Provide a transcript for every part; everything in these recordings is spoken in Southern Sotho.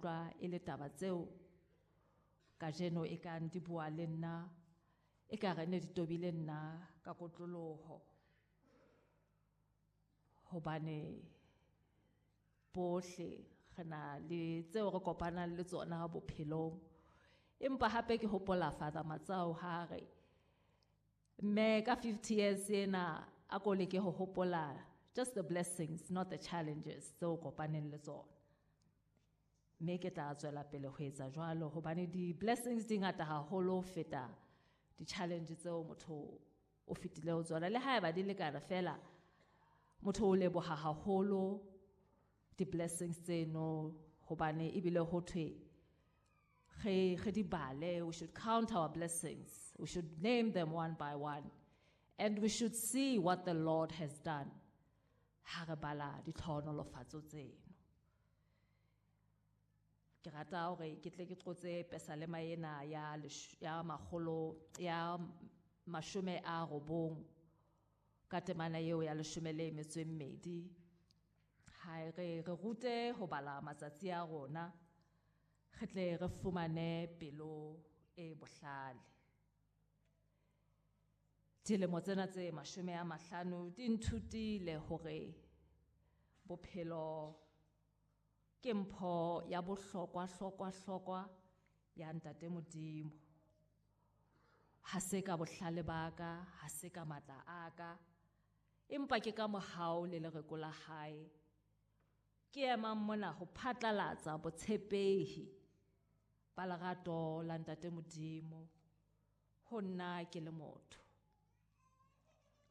utlwa e le taba tseo kajeno e kang di bua le nna, e ka re ne di tobile nna ka kotloloho. Hobane bohle re na le tseo re kopanang le tsona bophelong. Empa hape ke hopola Father Matsau ha re mme ka 50 years ena a ko leke ho hopola just the blessings, not the challenges tseo kopaneng le tsona. Mme ke tla tswela pele ho etsa jwalo hobane di-blessings di ngata haholo ho feta di-challenge tseo motho o fetile ho tsona. Le haeba di lekana fela, motho o leboha haholo di-blessings tseno hobane ebile ho thwe re di bale. We should count our blessings. We should name them one by one. And we should see what the Lord has done. Ha re bala ditlhohonolofatso tseno. Ke rata hore ke tle ke qotse pesalema ena ya ya makgolo, ya mashome a robong ka temana eo ya leshome le metso e mmedi. Ha re rute ho bala matsatsi a rona, re tle re fumane pelo e bohlale. Dilemo tsena tse 50 di nthutile hore bophelo ke mpho ya bohlokwa hlokwa hlokwa ya Ntate Modimo. Ha se ka bohlale ba ka, ha se ka matla a ka, empa ke ka mohau le lereko la hae. Ke emang mona ho phatlalatsa botshepehi ba lerato la Ntate Modimo ho nna ke le motho.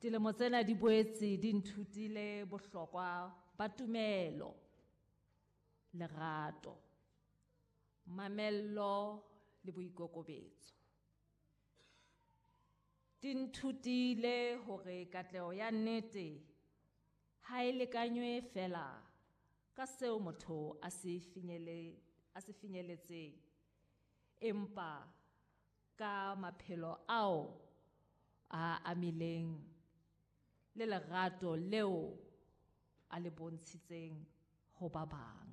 Dilemo tsena di boetse di nthutile bohlokwa ba tumelo, lerato, mamello le boikokobetso. Di nthutile hore katleho ya nnete ha e lekanywe fela ka seo motho a se finyeletseng, empa ka maphelo ao a amileng le lerato leo a le bontshitseng ho ba bang.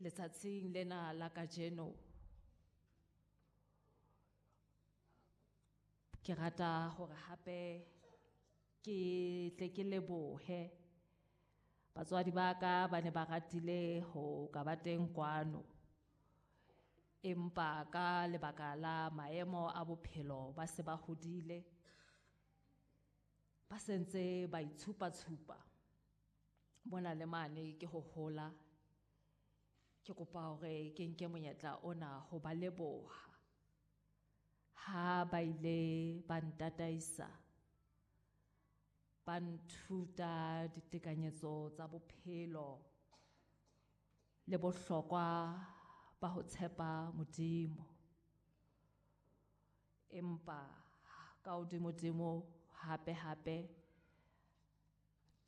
Letsatsing lena la kajeno ke rata hore hape ke tle ke lebohe batswadi ba ka ba ne ba ratile ho ka ba teng kwano, empa ka lebaka la maemo a bophelo ba se ba hodile, ba sentse ba itshupa-tshupa mona le mane ke ho hola. Ke kopa hore ke nke monyetla ona ho ba leboha ha ba ile ba ntataisa, ba nthuta ditekanyetso tsa bophelo le bohlokwa ba ho tshepa Modimo. Empa ka hodimodimo hape hape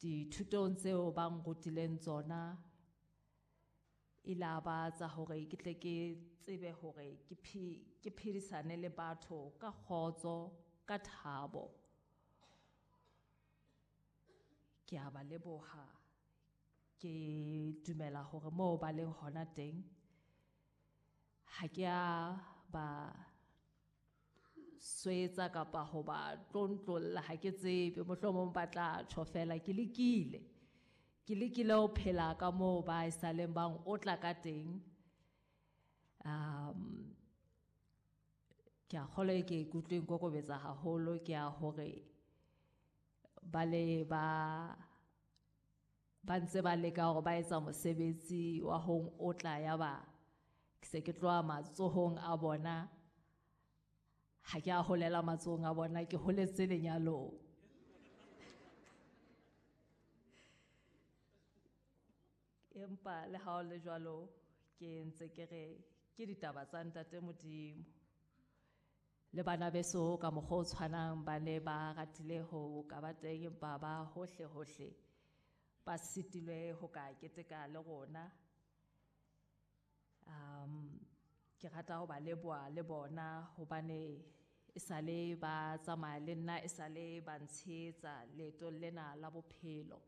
dithutong tseo ba nrutileng tsona ile ba tsa hore ke tle ke tsebe hore ke phedisane le batho ka kgotso, ka thabo. Ke a ba leboha, ke dumela hore moo ba leng hona teng ha ke a ba swetsa kapa ho ba tlontlolla, ha ke tsebe, mohlomong ba tla tjho fela ke lekile. Ke lekile ho phela ka moo ba e saleng bang otla ka teng. Ke a kgolwa e ke ikutlwe nkokobetsa haholo, ke a hore ba le ba ntse ba leka hore ba etsa mosebetsi wa ho otla, ya ba ke se ke tloha matsohong a bona. Ha ke a holela matsohong a bona, ke holetse lenyalong. Empa le ha ho le jwalo, ke ntse ke re ke ditaba tsa Ntate Modimo. Le bana beso ka mokgwa o tshwanang ba ne ba ratile ho ka ba teng, empa ba hohle hohle ba sitilwe ho ka keteka le rona. Ke rata ho ba leboha le bona hobane e sale ba tsamaya le nna, e sale ba ntshehetsa leetong lena la bophelo.